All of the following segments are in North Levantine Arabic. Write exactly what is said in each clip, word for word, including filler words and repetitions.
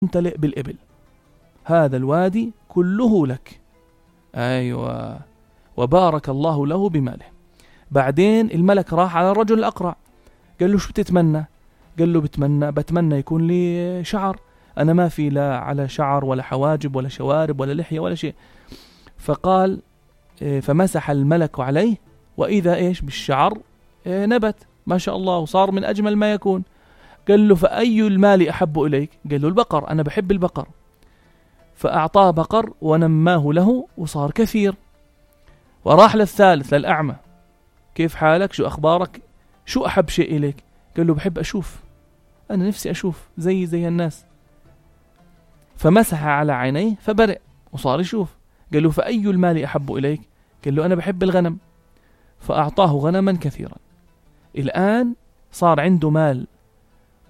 ممتلئ بالإبل، هذا الوادي كله لك. أيوة، وبارك الله له بماله. بعدين الملك راح على الرجل الأقرع، قال له شو بتتمنى؟ قال له بتمنى بتمنى يكون لي شعر، أنا ما في لا على شعر ولا حواجب ولا شوارب ولا لحية ولا شيء. فقال فمسح الملك عليه وإذا إيش بالشعر نبت ما شاء الله وصار من أجمل ما يكون. قال له فأي المال أحب إليك؟ قال له البقر، أنا بحب البقر. فأعطاه بقر ونماه له وصار كثير. وراح للثالث للأعمى، كيف حالك؟ شو أخبارك؟ شو أحب شيء إليك؟ قال له بحب أشوف، أنا نفسي أشوف زي زي الناس. فمسح على عينيه فبرئ وصار يشوف. قال له فأي المال أحب إليك؟ قال له أنا بحب الغنم. فأعطاه غنما كثيرا. الآن صار عنده مال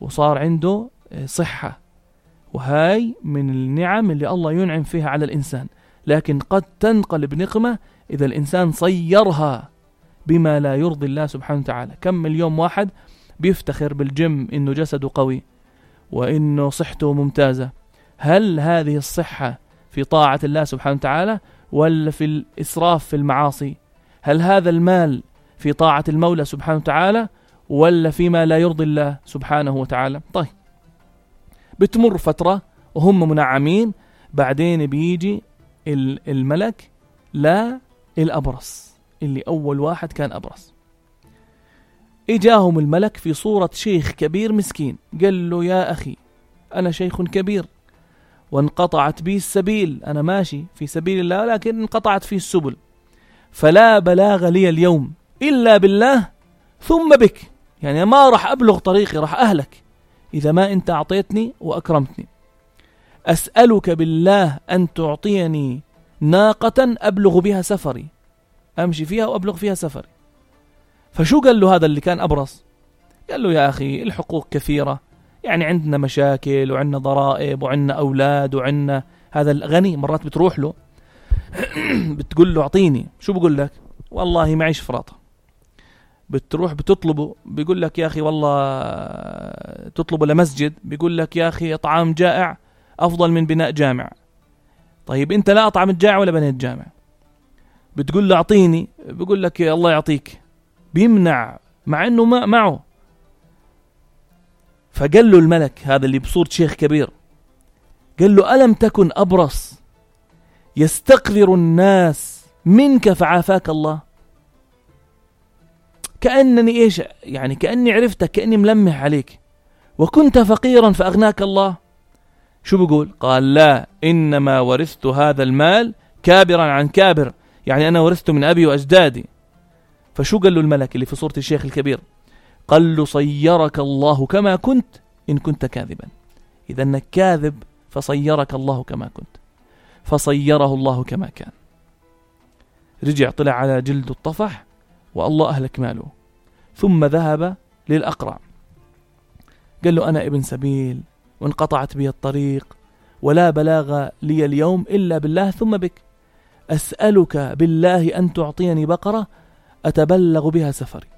وصار عنده صحة، وهاي من النعم اللي الله ينعم فيها على الإنسان، لكن قد تنقلب نقمة إذا الإنسان صيرها بما لا يرضي الله سبحانه وتعالى. كم مليون واحد بيفتخر بالجيم إنه جسده قوي وإنه صحته ممتازة. هل هذه الصحة في طاعة الله سبحانه وتعالى ولا في الإسراف في المعاصي؟ هل هذا المال في طاعة المولى سبحانه وتعالى ولا فيما لا يرضي الله سبحانه وتعالى؟ طيب، بتمر فترة وهم منعمين. بعدين بيجي الملك لا الأبرص اللي أول واحد كان أبرص. إجاهم الملك في صورة شيخ كبير مسكين، قال له يا أخي أنا شيخ كبير وانقطعت بي السبيل، أنا ماشي في سبيل الله لكن انقطعت فيه السبل، فلا بلاغ لي اليوم إلا بالله ثم بك، يعني ما راح أبلغ طريقي، راح أهلك إذا ما أنت أعطيتني وأكرمتني. أسألك بالله أن تعطيني ناقة أبلغ بها سفري، أمشي فيها وأبلغ فيها سفري. فشو قال له هذا اللي كان أبرص؟ قال له يا أخي الحقوق كثيرة، يعني عندنا مشاكل وعندنا ضرائب وعندنا أولاد وعندنا هذا الغني مرات بتروح له بتقول له أعطيني، شو بقول لك؟ والله معيش فراطة. بتروح بتطلبه بيقول لك يا أخي والله تطلبه لمسجد، بيقول لك يا أخي طعام جائع أفضل من بناء جامع. طيب أنت لا أطعم الجائع ولا بنيت جامع، بتقول له أعطيني، بيقول لك يا الله يعطيك، بيمنع مع أنه ما معه. فقال له الملك هذا اللي بصورة شيخ كبير، قال له ألم تكن أبرص يستقذر الناس منك فعافاك الله؟ كأنني إيش يعني كأني عرفتك، كأني ملمح عليك، وكنت فقيرا فأغناك الله. شو بقول؟ قال لا، إنما ورثت هذا المال كابرا عن كابر، يعني أنا ورثته من أبي وأجدادي. فشو قال له الملك اللي في صورة الشيخ الكبير؟ قال له صيرك الله كما كنت إن كنت كاذبا، إذا أنك كاذب فصيرك الله كما كنت، فصيره الله كما كان. رجع طلع على جلد الطفح والله أهلك ماله. ثم ذهب للأقرع، قال له أنا ابن سبيل وانقطعت بي الطريق ولا بلاغ لي اليوم إلا بالله ثم بك، أسألك بالله أن تعطيني بقرة أتبلغ بها سفري.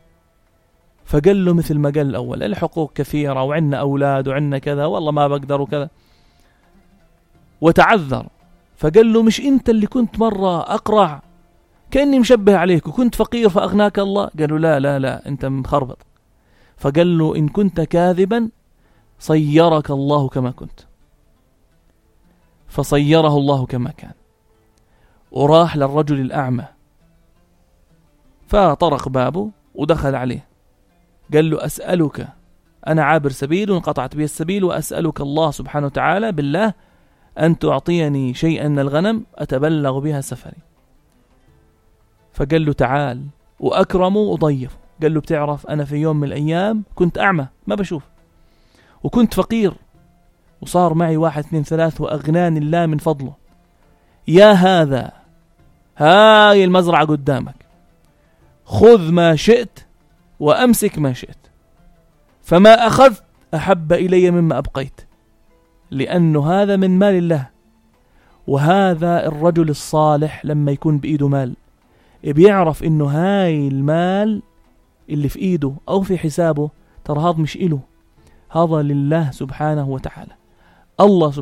فقال له مثل ما قال الأول الحقوق كثيرة وعنا أولاد وعنا كذا والله ما بقدر وكذا، وتعذر. فقال له مش أنت اللي كنت مرة أقرع كأني مشبه عليك وكنت فقير فأغناك الله؟ قالوا لا لا لا أنت مخربط. فقال له إن كنت كاذبا صيرك الله كما كنت، فصيره الله كما كان. وراح للرجل الأعمى فطرق بابه ودخل عليه، قال له أسألك، أنا عابر سبيل وانقطعت بي السبيل، وأسألك الله سبحانه وتعالى بالله أن تعطيني شيئا من الغنم أتبلغ بها سفري. فقال له تعال، وأكرمه وضيفه. قال له بتعرف أنا في يوم من الأيام كنت أعمى ما بشوف، وكنت فقير، وصار معي واحد اثنين ثلاث وأغناني الله من فضله. يا هذا هاي المزرعة قدامك، خذ ما شئت وأمسك ما شئت، فما أخذت أحب إلي مما أبقيت، لأنه هذا من مال الله. وهذا الرجل الصالح لما يكون بإيده مال بيعرف إنه هاي المال اللي في إيده أو في حسابه ترى هذا مش إله، هذا لله سبحانه وتعالى. الله سبحانه